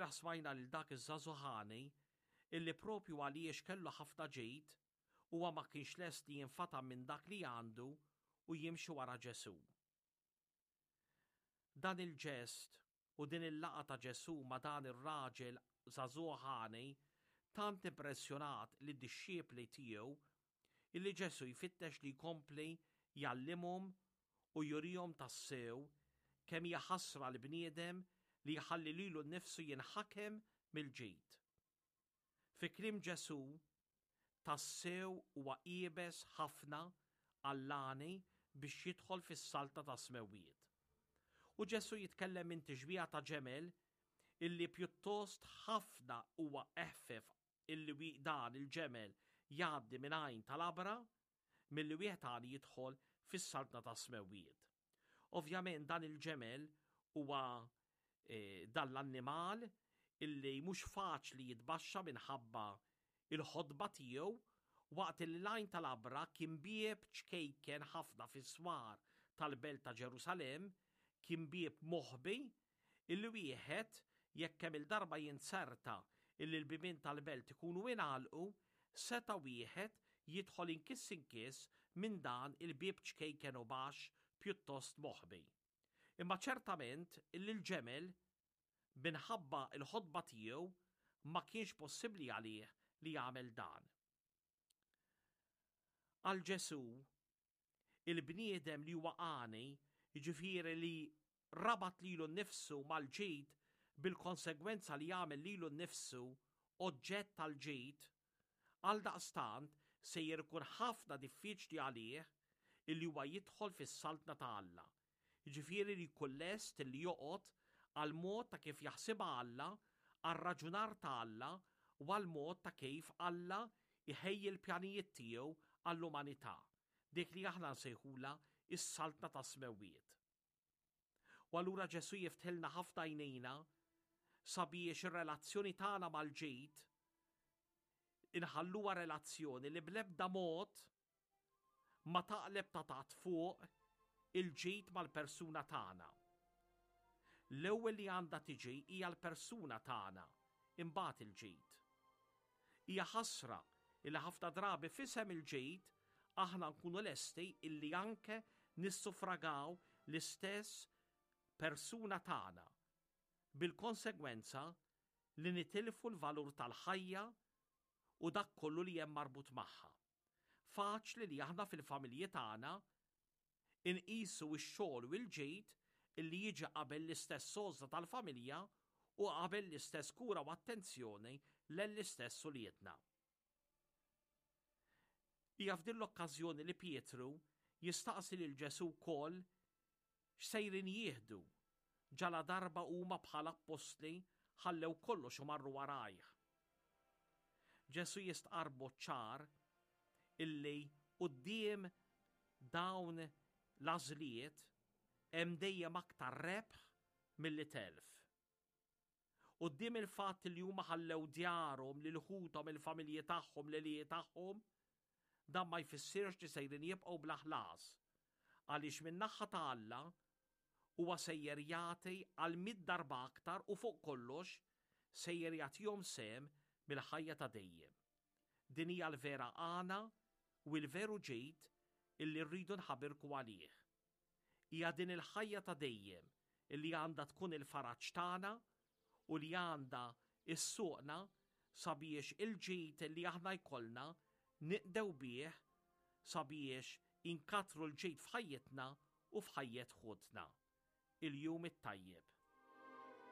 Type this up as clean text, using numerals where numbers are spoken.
Ilbieraħ smajna lil dak iż-żagħżugħ għani illi propju għaliex kellu ħafna ġid huwa ma kienx lest li jinfatam minn dak li għandu u jimxi wara Ġesù. Dan il-ġest u din il-laqgħa ta' Ġesù ma' dan ir-raġel żagħżugħ għani tant impressjonat lid-dixxipli tiegħu illi Ġesù jfittex li jkompli jgħallimhom u jurihom tassew kemm hija ħasra l-bniedem li jħalli lilu nnifsu jinħakem mill-ġid. Fi kliem Ġesù, tassew huwa iebes ħafna għall-għani biex jidħol fis-saltna tas-smewwiet. U Ġesù jitkellem minn tixbiha ta' ġemel illi pjuttost ħafna huwa eħfef illi dan il-ġemel jgħaddi minn għajn tal-abra milli wieħed għani jidħol fis-saltna tas-smewwiet. Ovvjament dan il-ġemel huwa eh, dan l-annimal illi mhux faċli jitbaxxa minħabba il-ħodba tiegħu waqt li l-għajn tal-abra kien bieb ċkejken ħafna fis-swar tal-belt ta' Ġerusalemm, kien bieb moħbi illi wieħed jekk kemm il-darba jinzerta illi l-bibien tal-belt ikunu ingħalqu, seta' wieħed jidħol inkiss inkiss minn dan il-bieb ċkejken u baxx pjuttost moħbi. Imma ċertament illi l-ġemel, minħabba l-ħotba tiegħu, ma kienx possibbli għalih li jagħmel dan. Għal Ġesù, il-bniedem li huwa għani, jiġifieri li rabat lilu nnifsu mal-ġid bil-konsegwenza li jagħmel lilu nnifsu oġġett tal-ġid, għaldaqstant sejjer ikun ħafna diffiċli għalih illi huwa jidħol fis-Saltna ta' Alla, jiġifieri li jkun lest illi joqgħod għall-mod ta' kif jaħsibha Alla, għar-raġunar ta' Alla u għall-mod ta' kif Alla jħejji l-pjanijiet tiegħu għall-umanità, dik li aħna nsejħulha s-Saltna tas-Smewwiet. U allura Ġesù jiftħilna ħafna għajnejna sabiex ir-relazzjoni tagħna mal-ġid inħalluha relazzjoni li bl-ebda mod ma taqleb ta' taħt fuq il-ġid mal-persuna tagħna. L-ewwel li għandha tiġi hija l-persuna tagħna, imbagħad il-ġid. Hija ħasra illi ħafna drabi f'isem il-ġid aħna nkunu lesti illi anke nissufragaw l-istess persuna tagħna bil-konsegwenza li nitilfu l-valur tal-ħajja u dak kollu li hemm marbut magħha. Faċli li aħna fil-familji tagħna Inqisu x-xogħol u l-ġid illi jiġi qabel l-istess għożża tal-familja u qabel l-istess kura u attenzjoni lejn l-istess uliedna. Hija f'din l-okkażjoni li Pietru jistaqsi lil Ġesù wkoll x'sejrin jieħdu ġaladarba huma bħala appostli ħallew kollox u marru warajh. Ġesù jistqarr b'mod ċar illi quddiem dawn l-għażliet hemm dejjem aktar rebħ milli telf. Quddiem il-fatt li huma ħallew djarhom lil ħuthom, il-familji tagħhom, l-għelieqi tagħhom, dan ma jfissirx li sejrin jibqgħu bla ħlas, għaliex min-naħa ta' Alla huwa sejjer jagħti għal mitt darba aktar u fuq kollox sejjer jagħtihom sehem mill-ħajja ta' dejjem. Din hija l-vera għana u l-veru ġid illi rridu nħabirku għalih. Hija din il-ħajja ta' dejjem illi għandha tkun il-faraġ tagħna u li għandha ssuqna sabiex il-ġid li aħna jkollna niqdew bih sabiex inkattru l-ġid f'ħajjitna u f'ħajjet ħutna. Il-jum it-tajjeb.